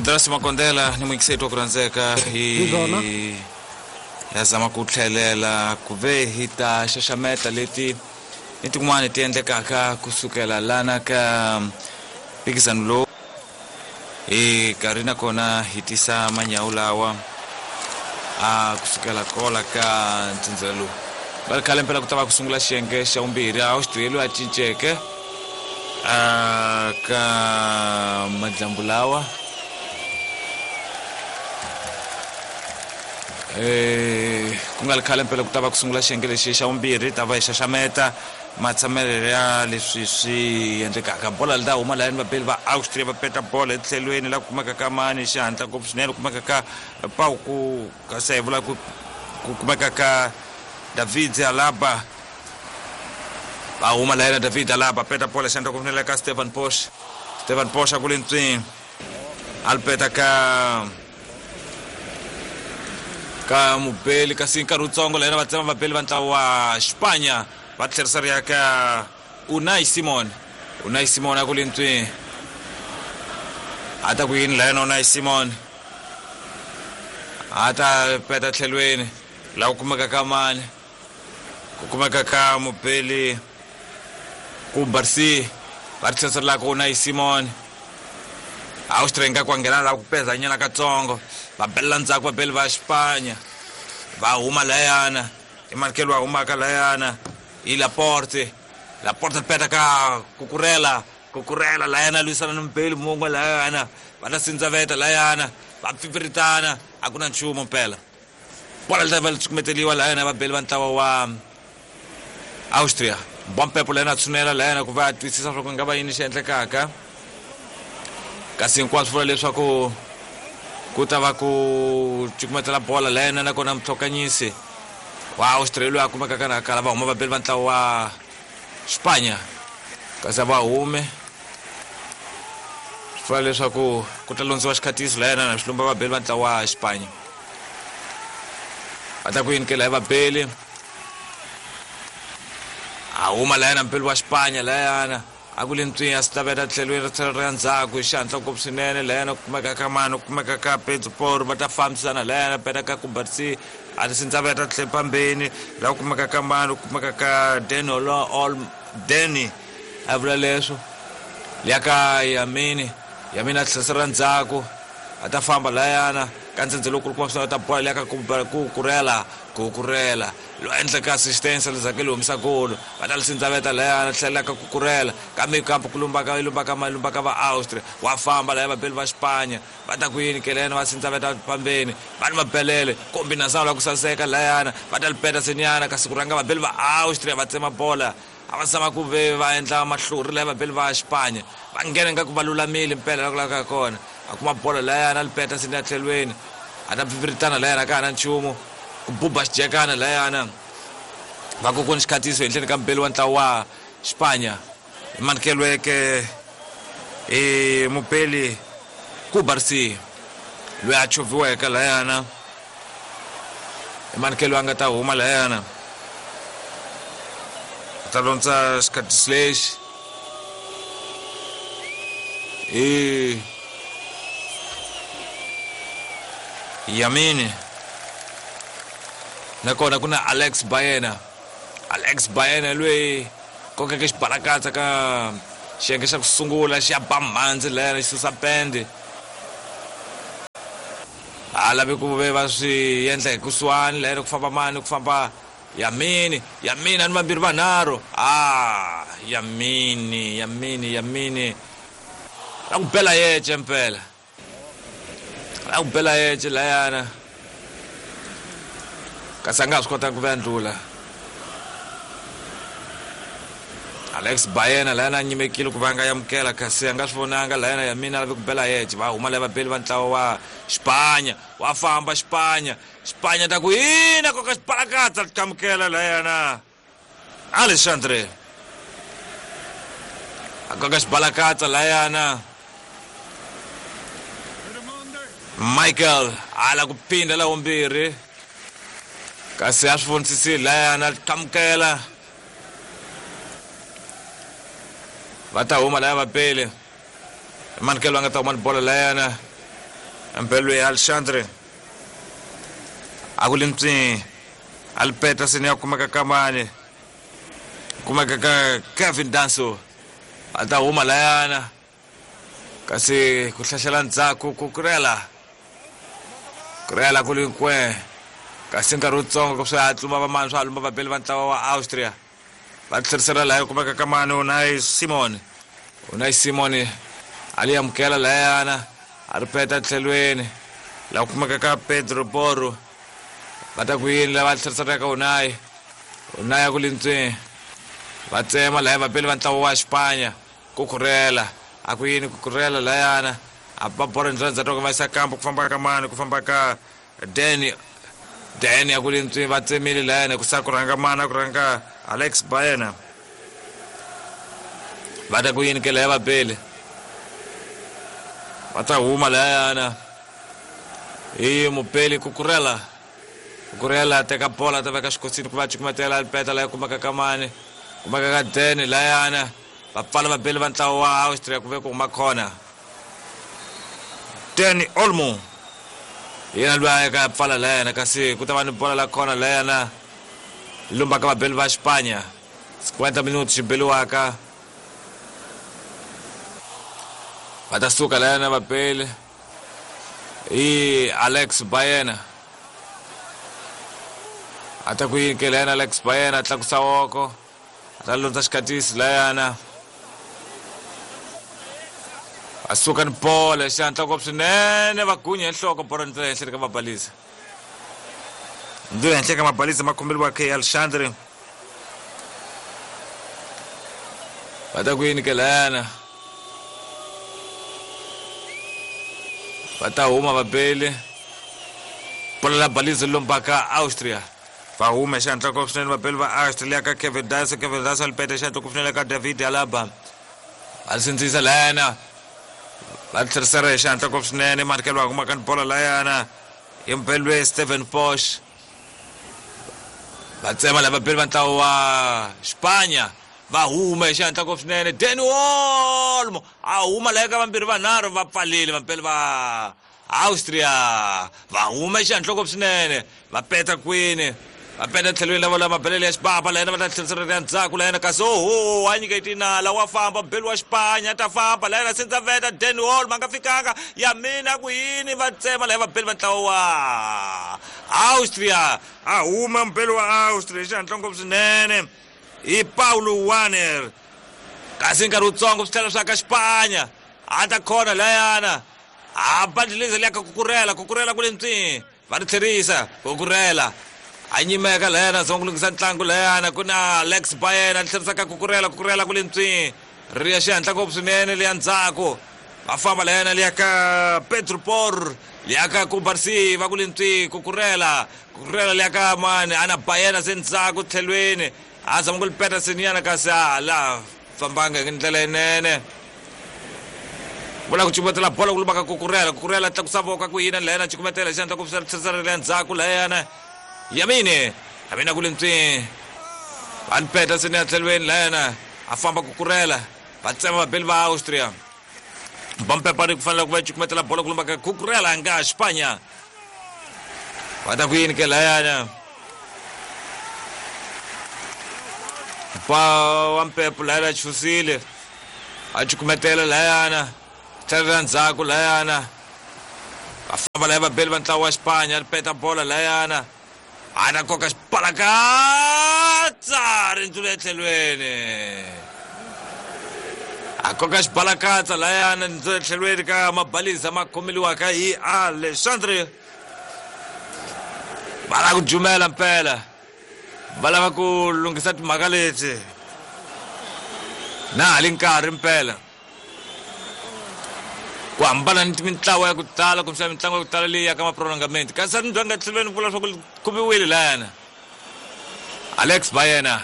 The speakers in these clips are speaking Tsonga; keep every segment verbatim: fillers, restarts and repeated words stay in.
Drasi Makondela ni muyingiseri wa ku rhandzeka hi ya zama ku tlhelela ku ve hi ta xaxameta leti ni tin'wani ti endlekaka kusukela lana ka mphikizano lowu hi karhi nakona hi tisa manyawu lawa a kusukela kola ka ntsindzelo lowu va ri khale mpela ku ta va ku sungula xiyenge xa vumbirhi Austria loyi a cinceke a ka madyambu lawa eh ku nga ri khale mpela ku ta va ku sungula xiyenge lexi xa vumbirhi ta va hi xaxameta matshamelo ya leswi swi endlekaka bola li ta huma layani vabeli va Austria va peta bola etlhelweni la ku kumeka ka mani xihatla ngopfu swinene ku kumeka ka Pauku kasi hi vula ku ku kumeka ka David Alaba va huma layani David Alaba peta bola xihatla ngopfu swinene ka Stefan Posch Stefan Posch a ku le ntswini a li peta ka ka mubeli kasi nkarhi wutsongo layena va tsema vabeli va ntlawa wa Xipanya va tlherisa ri ya ka Unai Simon Unai Simon a ku le ntswini a ta ku yini layena Unai Simon a ta peta tlhelweni laha ku kumeka ka mani ku kumeka ka mubeli ku Barsi va tlherisa la ka Unai Simon Austria nga ku nghena la ku pezanyana katsongo va bela ndzhaku vabeli va Xipanya va huma layana i Markelo wa humaka layana i Laporte Laporte peta ka Kukurela Kukurela layana lwisana ni mubeli mun'we layana va ta sindzaveta layana va pfipfiritana a ku na nchumu mpela bola li ta va li cukumeteliwa layana vabeli va ntlawa wa Austria Mbwampepo layana a tshunela layana ku va a twisisa swa ku nga va yini xi endlekaka kasi hinkwaswo vula leswaku ku ta va ku cukumetela bola layena nakona mutlhokanyisi wa Austria loyi a kumekaka na kala va huma vabeli va ntlawa wa Xipanya kasi a va hume swi vula leswaku ku ta londziwa xikhatiso layena na xilumba vabeli va ntlawa wa Xipanya va ta ku yini ke laya vabeli a huma layena mubeli wa Xipanya layana a ku le ntswini a swi tlhelweni ri tlhela ri ya ndzhaku hi xihatla ngopfu swinene layena ku kumeka ka mani ku kumeka ka Pedro Porro va ta fambisana layena peta ka Kubarsi a ti sindzaveta tlhe phambeni laha ku kumeka ka mani ku kumeka ka Dani Ol Dani a vula leswo liya ka Yamini Yamini a tlherisela ndzhaku a ta famba layana ka ndzhendze lowu kulukumba swinene ta bola liya ka Kukurela Kukurela lo endla ka assistance lezake li humisa golo va ta li sindzaveta layana tlhela ka Kukurela kambe kampo ku lumbaka lumbaka lumbaka va Austria wa famba laya vabeli va Xipanya va ta ku yini ke layana va sindzaveta pambeni va ni mabelele kombinasana la ku saseka layana va ta li peta senyana kasi ku rhanga vabeli va Austria va tsema bola a va zama ku ve va endla mahlori laya vabeli va Xipanya va nghena nga ku va lulamile mpela la ku lavaka kona a kuma bola layana li peta seni ya tlhelweni a ta pfipfiritana layana ka ha na nchumu ku buba xijekana layana va ku ku ni xikhatiso henhleni ka mubeli wa ntlawa wa Xipanya i manikeliweke i mubeli Kubarsi loyi a chovhiweke layana i manikelo a nga ta huma layana a ta londza xikhatiso lexi i Yamini nakona ku na Alex Baena Alex Baena loyi kokeke xibalakatsa ka xiyenge xa ku sungula xi ya ba mhandzi layana xi susa pende a lavi ku ve va swi endla hi kusuhani layana ku famba mani ku famba Yamini Yamini a ni vambirhi vanharhu a Yamini Yamini Yamini la ku bela yece mpela la ku bela yece layana kasi a nga ha swi kotanga ku va ndlula Alex Baena layana a nyimekile ku va nga amukela kasi a nga swi vonanga layana Yamini a lavi ku bela yece va huma laya vabeli va ntlawa wa Xipanya wa famba Xipanya Xipanya ta ku yini koka xibalakatsa amukela layana Alexandre a koka xibalakatsa layana Michael ala ku phinda la vumbirhi kasi a swi vonisisile layana amukela va ta huma laya vabeli Mankelo a nga ta huma ni bolo layana mpelo ya Alexandre a ku limtswi alipeta seni ya kumeka ka mani kumeka ka Kevin Danso a ta huma layana kasi ku hlahlela ndzhaku ku kurela kurela ku linkwe kasi nkarhi wutsongo ku swi hatluma va mani swa lumba vabeli va ntlawa wa Austria va tlherisela laya kumeka ka mani Unai Simon Unai Simon a li amukela layana a ri peta tlhelweni la kumeka ka Pedro Porro va ta ku yini lava tlherisela ka Unai Unai a ku lintswini va tsema laya vabeli va ntlawa wa Xipanya ku khurela a ku yini ku khurela layana a ba bolo ndlela ndzhaku va yisa kampo ku famba ka mani ku famba ka Danny Danny a ku lintswini va tsemile layana ku sa ku rhanga mani a ku rhanga Alex Baena va ta ku yini ke laya vabeli va ta huma layana hi mupeli ku kurela Kukurela teka bola ta veka xikosini ku va cukumetela peta laya kumeka ka mani kumeka ka Danny layana va pfala vabeli va ntlawa wa Austria ku ve ku huma khona Danny Olmo yena loyi a ya ka pfala layana kasi ku ta va ni bola la khona layana lumba ka vabeli va Xipanya cinquanta minuti xi beliwaka va ta suka layana vabeli hi Alex Baena a ta ku yini ke layana Alex Baena a tlakusa woko a ta lundza xikatisi layana a suka ni bola xihatla ngopfu swinene va gunya hi nhloko bolo ndzi henhla ka mabalisa ndzi henhla ka mabalisa ma khombeliwaka hi Alexandre va ta ku yini ke layana va ta huma vabeli bola la balisa lombaka Austria va huma xihatla ngopfu swinene vabeli va Austria ka Kevin Danso Kevin Danso lipeta xihatla ngopfu swinene ka David Alaba va ri sindzisa layana va tlherisela hi xihatla ngopfu swinene Markelo va kumaka ni bola layana hi mbelwe Steven Posh va tsema lava vabeli va ntlawa wa Xipanya va huma hi xihatla ngopfu swinene Danny Olmo a huma laya ka vambirhi vanharhu va pfalile vabeli va Austria va huma hi xihatla ngopfu swinene va peta kwini va peta tlhelweni lava lava mabelele ya xibaba layena va ta tlherisela ya ndzhaku layena kasi oho a nyika tinala wa famba mbeli wa Xipanya ta famba layena sindza veta Danny Olmo a nga fikanga ya mina ku yini va tsema laya vabeli va ntlawa wa Austria a huma mbeli wa Austria hi xihatla ngopfu swinene hi Paulo Wanner kasi nkarhi wutsongo swi tlhela swa ka Xipanya a ta khona layana a bandliliza liya ka kukurela kukurela ku le ntswini va ri tlherisa kukurela a nyimeka layana zama ku lunghisa ntlangu layana ku na Alex Baena tlherisa ka kukurela kukurela ku le ntswini ri ya xihatla ngopfu swinene liya ndzhaku va famba layana liya ka Pedro Porro liya ka Kubarsi va ku le ntswini kukurela kukurela liya ka mani ana Baena se ndzhaku tlhelweni a zama ku li peta seniyana kasi a la fambanga hi ndlela yinene vula ku cukumetela bola ku lumaka kukurela kukurela tlakusa voko ku yina layana cukumetela xihatla ku tlherisela le ndzhaku layana Yamine Yamine ku le ntswini va peta seni ya tlhelweni layana a famba kukurela va tsema vabeli va Austria Bampepari ku fanele ku va cukumetela bola ku lumaka kukurela nga Xipanya va ta ku yini ke layana pa wa mpepo layana chusile a cukumetela layana tlhelela ndzhaku layana va famba laya vabeli va ntlawa wa Xipanya ri peta bola layana a ta koka xibalakatsa ri ndzula etlhelweni a koka xibalakatsa layana ndzula etlhelweni ka mabalisa ma khomeliwaka hi Alexandre va lava ku jumela mpela va lava ku lunghisa timhaka leti na ha li nkarhi mpela ku hambana ni mintlawa ya ku tala kumbexana mitlangu ya ku tala leyi ya ka maprolongamenti kasi a ni nga tlhelweni vula swa ku khumiwile layana Alex Baena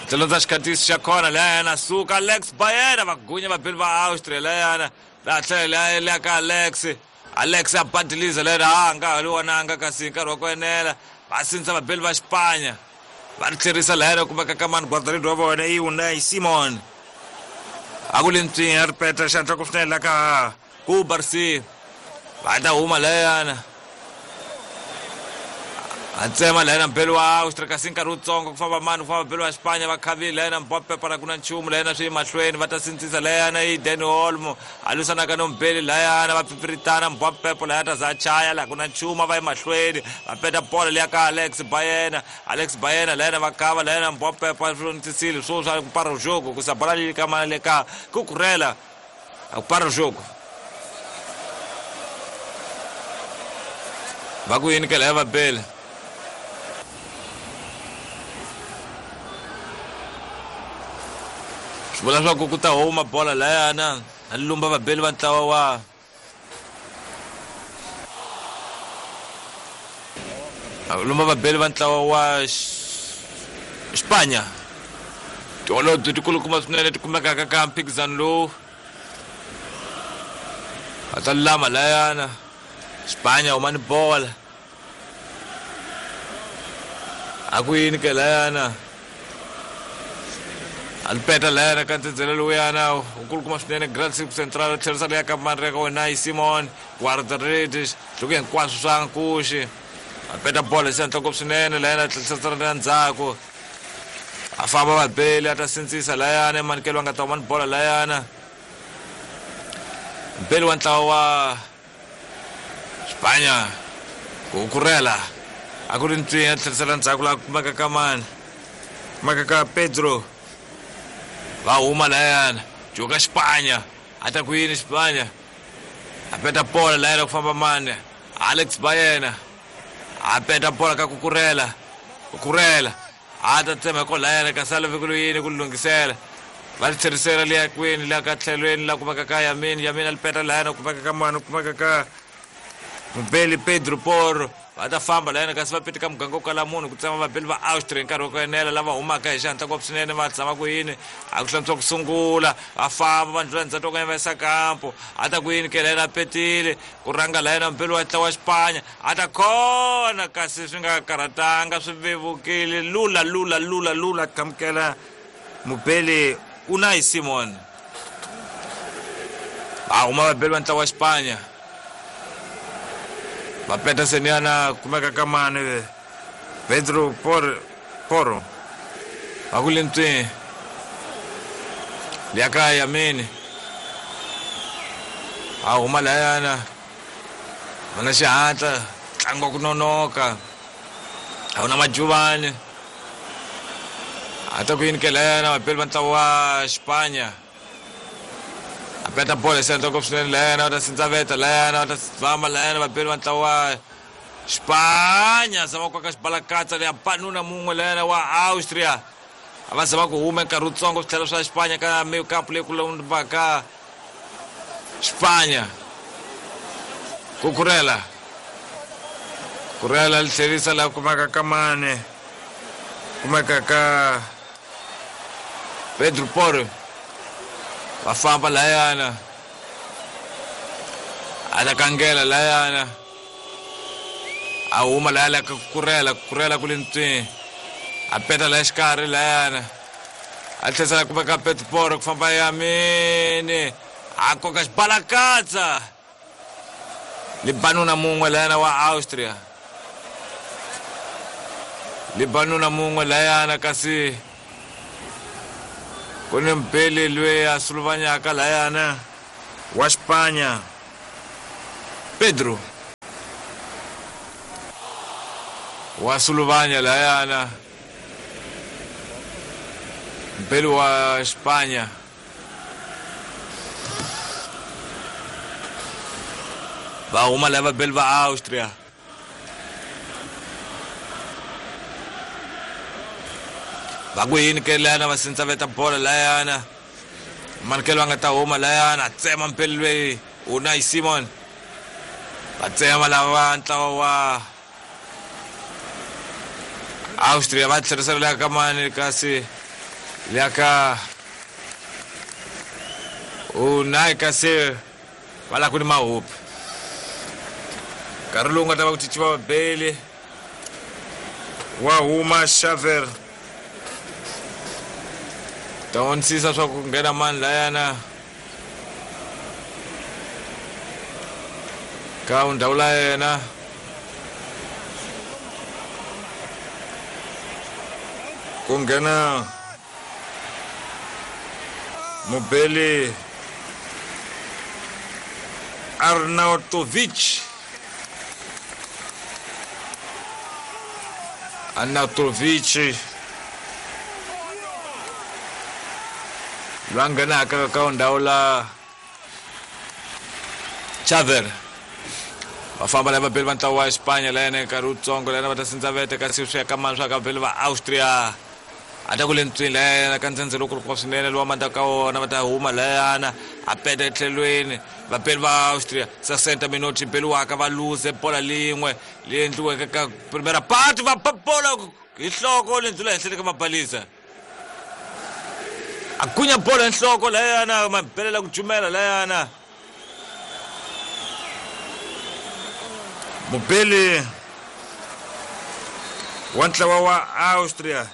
tlhelondza xikhatisi xa khona layana suka Alex Baena va gunya vabeli va Austria layana va tlhela liya ka Alex Alex a badiliza layana a nga ha li vonanga kasi nkarhi wa ku enela va sindzisa vabeli va Xipanya va ri tlherisa layana kumeka ka mani guardaridi wa vona i Unai Simon A ku le ntswini a ri peta xihatla ku swinene la ka Kubarsi. Va ta huma layana. A tsema layana mbelo wa Austria kasi nkarhi wutsongo ku famba mani ku famba mbelo wa Spanya va khavile layana Mbappe para ku na nchumu layana swi mahlweni va ta sindzisa layana i Dani Olmo a lwisanaka no mbeli layana va pfipfiritana Mbappe laya ta za chaya la ku na nchumu va emahlweni va peta bola liya ka Alex Baena Alex Baena layana va kava layana Mbappe pa swi swo swa ku para jogo ku sa bola li ka mana le ka Cucurella a ku para jogo va ku yini ke laya va bele swi vula swa ku ku ta huma bola layana a lumba vabeli va ntlawa wa a lumba vabeli va ntlawa wa Spanya tiholobye tikulukumba swinene ti kumekaka ka mphikizano lowu a ta lulama layana Spanya huma ni bola a ku yini ke layana Alpeta layana ka ntsendzele lowuyana ukulukumba swinene Grand Cirque Central tlherisa leya ka manreka wena yi Simon Guardaredes loko hinkwaswo swa nkuxi a peta bola hi xihatla ngopfu swinene layana tlherisa na ndzhaku a famba vabeli a ta sindzisa layana emanikelo a nga ta huma ni bola layana mbeli wa ntlawa wa Spanya ku kurela a ku ri ntswinya a tlherisela ndzhaku laha kumeka ka mani kumeka ka Pedro va huma layana joka Spanya a ta ku yini Spanya a peta bola layana ku famba mani Alex Baena a peta bola ka Cucurella Cucurella a ta tsema ko layana kasi a lave ku yini ku lunghisela va ri tlherisela liya kwini la ka tlhelweni la kumeka ka Yamin Yamin a li peta layana kumeka ka mani kumeka ka Mbeli Pedro Porro va ta famba layana kasi va pete ka muganga wo kala munhu ku tsema vabeli va Austria nkarhi wa ku enela lava humaka hi xihatla ngopfu swinene va tshama ku yini a ku hlantswa ku sungula va famba va ndlula ndzhaku ka va yisa kampo a ta ku yini ke layana a petile ku rhanga layana mbeli wa ntlawa wa Spanya a ta khona kasi swi nga karhatanga swi vevukile lula lula lula lula qhamukela mubeli Unai Simon va huma vabeli va ntlawa wa Spanya va peta seniana kumeka ka mani Pedro por Porro va ku le ntswini liya ka Yamini a huma layana va na xihatla ntlangu wa ku nonoka a wu na majuvani a ta ku yini ke layana vabeli va ntlawa wa Spanya a peta bola xihatla ngopfu swinene layana va ta sindzaveta layana va ta famba layana vabeli va ntlawa wa Spanya zama ku ka xibalakatsa leya banuna mun'we layana wa Austria a va zama ku huma nkarhi wutsongo swi tlhela swa Spanya ka kampu leyi ku lumbaka Spanya Cucurella Cucurella li tlherisa laha kumeka ka mani kumeka ka Pedro Porro va famba layana a ta kangela layana a huma laya ka Cucurella Cucurella ku le ntswini a peta laya xikarhi layana a tlherisela kumeka Pedro Porro ku famba Yamini a koka xibalakatsa libanuna mun'we layana wa Austria libanuna mun'we layana kasi ku ni mbeli loyi a suluvanyaka layana wa Spanya Pedro wa suluvanya layana mbeli wa Spanya va huma lava vabeli va Austria va ku yini ke layana va sindzaveta bola layana manikelo a nga ta huma layana a tsema mpeli loyi Unai Simon va tsema lava ntlawa wa Austria va tlherisela liya ka mani kasi liya ka Unai kasi va la ku ni mahupi nkarhi lowu nga ta va ku cinciwa vabeli wa huma Xaver Ta vonisisa swa ku nghena mani layana ka ndhawu la yena. Ku nghena mubeli Arnautovic. Arnautovic loyi a nghenaka ka ndhawu la Chaver. Va famba lava vabeli va ntlawa wa Espanya layena nkarhi wutsongo layena va ta sindzaveta kasi swi ya ka mani swa ka vabeli va Austria. A ta ku le ntswini layena ka ndzhendzhe lowu kulukumba swinene lowa mandla ka wona va ta huma layana a peta etlhelweni vabeli va Austria sessanta minuti beliwaka va luze bola lin'we leyi endliweke ka primera parte va ba bola hi nhloko leyi ndlula henhleni ka mabalisa. A gunya bola hi nhloko layana ma belela ku jumela layana. Mubeli wa ntlawa wa Austria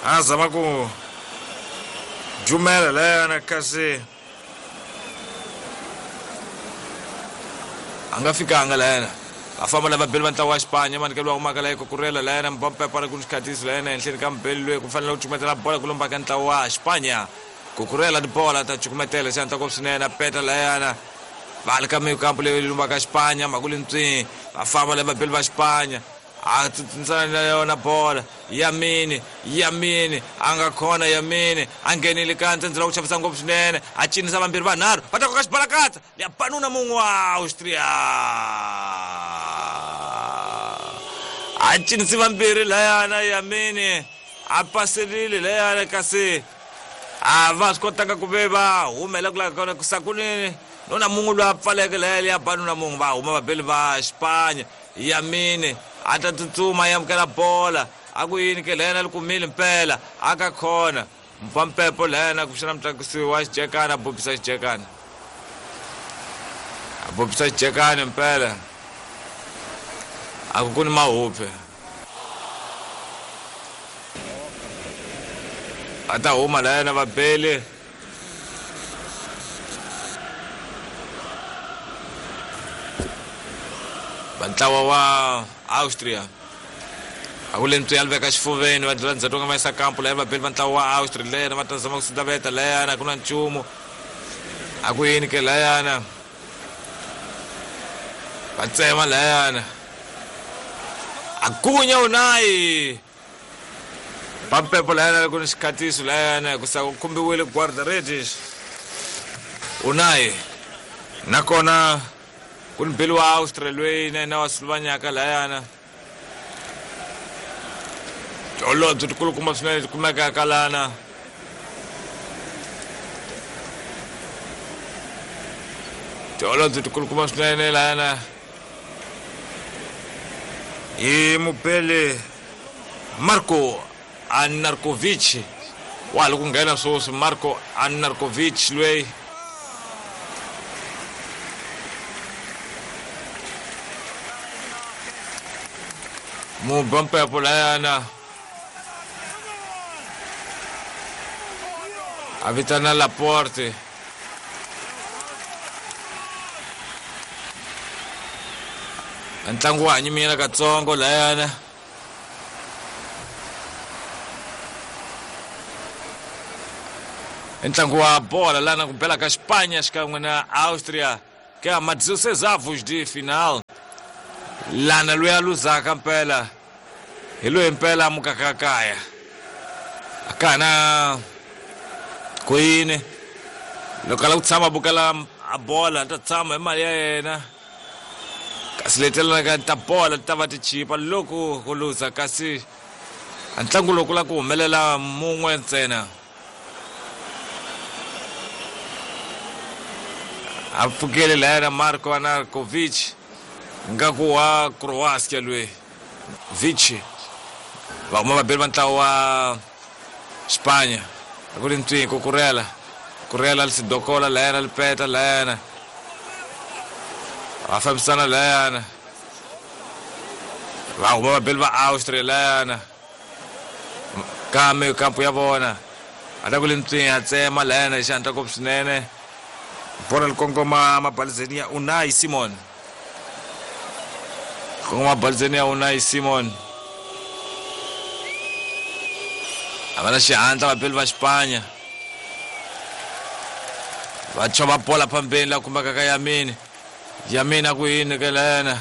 a zama ku jumela layana kasi a nga fikanga layana. Va famba lava vabeli va ntlawa wa Espanya manikelo wa humaka laha Kukurela layana Mbappe para ku ni xikhatisi layana henhleni ka mubeli loyi ku fanele ku cukumetela bola ku lomba ka ntlawa wa Espanya. Kukurela tibola ta cukumetela xihatla ngopfu swinene a peta layana. Va le ka mikampo leyi lumbaka Espanya makuli ntswini va famba lava vabeli va Espanya a tsutsumisana na yona bola Yamini Yamini a nga khona Yamini a nghenile ka ntsendze la ku chavisa ngopfu swinene a cinisa vambirhi vanharhu va ta koka xibalakatsa ya banuna mun'we wa Austria. A cinisi vambirhi layana Yamini a paserile layana kasi a va swi kotanga ku ve va humela ku lava kona kusakunini nona mun'we loyi a pfaleke laya ya banuna mun'we va huma vabeli va Espanya. Yamini a ta tsutsuma ya amukela bola a ku yini ke layena li kumile mpela a ka khona mpampepo layena ku xana mutlakusi wa xijekana a bobisa xijekana a bobisa xijekana mpela a ku ku ni mahuphe a ta huma layena vabeli. Va ntlawa wa Austria a ku le ntswi ya veka xifuveni va dlula ndzhaku nga va yisa kampo laya vabeli va ntlawa wa Austria layena va ta zama ku sindzaveta layana ku na nchumu a ku yini ke layana va tsema layana a gunya Unai Pampepo layana ku ni xikhatiso layana ku sa ku khumbiwile guarda-redes Unai nakona ku ni beli wa Austria loyi na yena wa Sloveniaka layana. Tiholobye tikulukumba swinene ti kumekaka lana. Tiholobye tikulukumba swinene lana hi mubeli Marko Arnautovic wa ha ku nghena sweswi Marko Arnautovic loyi mubampepo layana a vitana Laporte. Ntlangu wa hanyimile katsongo layana. Ntlangu wa bola lana ku bela ka Espanha xikan'we na Austria ka ma dezesseis avos de final. Lana loyi a luzaka mpela hi loyi mpela a mukaka kaya a ka na ku yini loko a lava ku tshama a bukela a bola a ta tshama hi mali ya yena kasi letelaka ta bola ti ta va ti chipa loko ku luza kasi a ntlangu lowu ku lava ku humelela mun'we ntsena. A pfukile layena Marko Arnautovic ngaku wa Croatia loyi Vici va huma vabeli va ntlawa wa Espanya a ku ri ntswini Kukurela Kurela Sidokola layena Lipeta layena va fambisana layana va huma vabeli va Austria layana kambe kampo ya vona A ta ku le ntswini a tsema layana hi xihatla ngopfu swinene. Bolo li kongoma mabalizeni ya Unai Simon. Kongoma mabalizeni ya Unai Simon. A va na xihatla vapeli va Xipanya. Va chova bola phambeni la kumeka ka Yamini. Yamini a ku yini ka layana.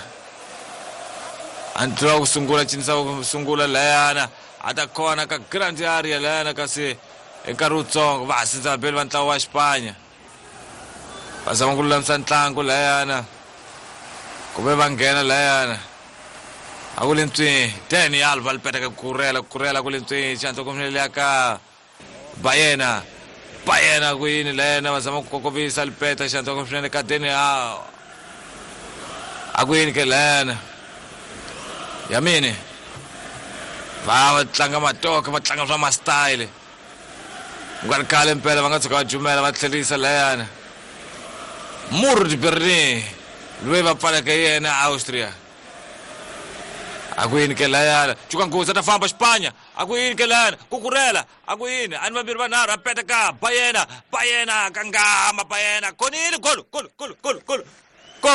A ntlhela ku sungula cinisa ku sungula layana. A ta kona ka grand area layana kasi hi nkarhi wutsongo va ha sindza vapeli va ntlawa wa Xipanya. Va zama ku lulamisa ntlangu layana. Kumbe va nghena layana. A ku le ntswini Dani Alves li peta ka Kurela, Kurela ku le ntswini xihatla ku ya ka Bayena. Bayena ku yini layana va zama ku kokovisa li peta xihatla ku swinene ka Dani Alves. A ku yini ke layana. Yamini. Va va tlanga matoka, va tlanga swa ma-style. Ku nga ri khale mpela va nga tshuka va jumela va tlherisa layana. Murd Berlin loyi va pfaleke yena Austria. A ku yini ke layana. Cuka nghozi a ta famba Xipanya. A ku yini ke layana. Kukurela. A ku yini. A ni vambirhi vanharhu a peta ka Bayena. Bayena kangama Bayena. Konile golo golo golo golo golo. Gol.